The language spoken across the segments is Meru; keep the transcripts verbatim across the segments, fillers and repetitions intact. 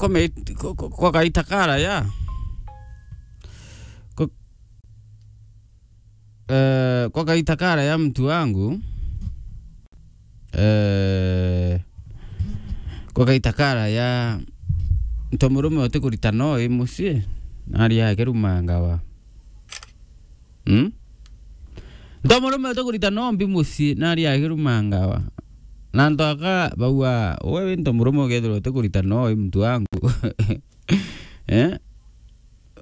kwa, kwa kaita karaya. Kwa, eh, kwa kaita karaya mtu wangu. Eh, kwa kaita karaya, nto murume utikurita no i mucii, nari akirumangawa. Hmm? Nto murume utikurita no mbi mucii, nari akirumangawa. Na nto aka bauga, wewe nto murume ukethirwa utikurita no i mtu wangu. Eh?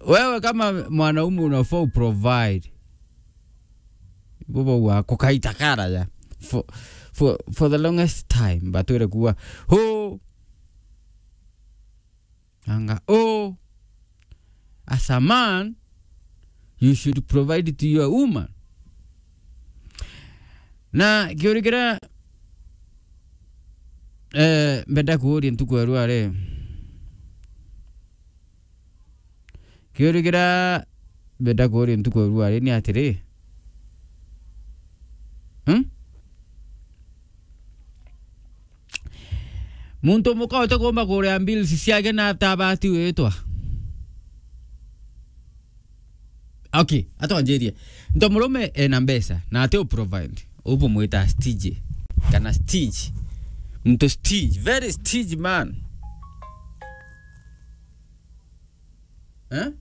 Wewe kama mwanaume unafaa uprovide. Ibo bauga, kukaita karaya. For, for, for the longest time, batwire kuuga, "Oh." Anga, "Oh, as a man, you should provide to your woman." Na kiuri kiria, eh, mbenda kuuria ntuku ya rua ri, kiuri kiria mbenda kuuria ntuku ya rua ri ni atiri, hmm? Muntu muka utikumba kuria bills ciake na atabati witwa? Okay, atwanjirie. Nto murume ena mbeca na ati u provide. Ubu mwita stingy. Kana stingy. Muntu stingy, very stingy man. Eh?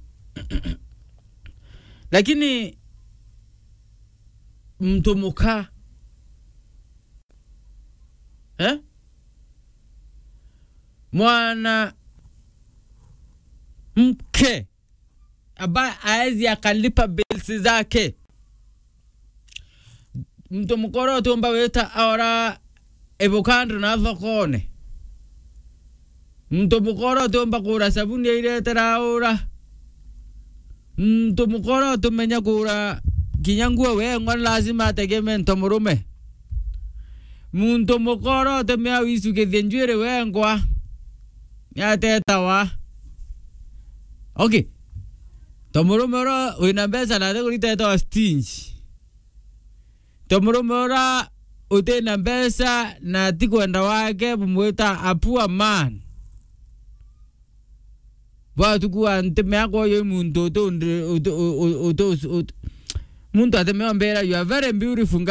Lakini muntu muka, eh? Mwana mke ambaye aezi akalipa bills zake. Muntu mukora utiumba wita aora ivukando na thokone. Muntu mukora utiumba kura sabuni airetera aura. Muntu mukora utumenya kura kinya nguo wengwa, ni lazima ategeme nto murume. Muntu mukora utumea wisukithie njuiri wengwa, ni atetawa. Okay. To murume ura wina mbeca na ati kurita etawa stingy. To murume ura utina mbeca na ti kwenda wake bumwita a poor man. Bwa tuku wa nti miaka uyu muntu utu-, utu-, utu-, utu-, utu-, muntu atemea mbera, "You are very beautiful girl."